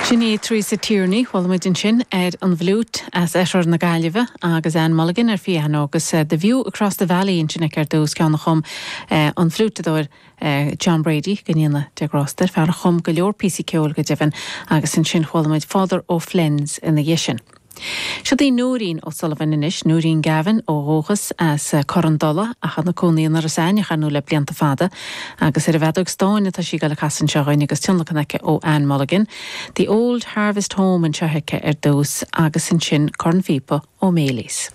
Sin í Teresa Tierney, chuala muid ansin ar an bhfliúit as oirthear na Gaillimhe agus Ann Mulligan ar phianó agus The View Across the Valley ansin aici ar dtús, ceann a chum an fliúiteadóir John Brady, go ndéana Dia grásta air, fear a chum go leor píosaí ceoil go deimhin, agus ansin chuala muid Father O'Flynn's ina dhiaidh sin. Siod í Nóirín O'Sullivan anois, Nóirín Gavin ó dhúchas as Cor an Dola ach ina cónaí in Iorras Aithneach ar ndóigh le blianta fada agus ar an bhfeadóg stáin atá sí ag dul a casadh anseo dhuinn agus tionlacan aici ó Ann Mulligan. The Old Harvest Home anseo aici ar dtús agus ansin cornphíopa ó Maylies.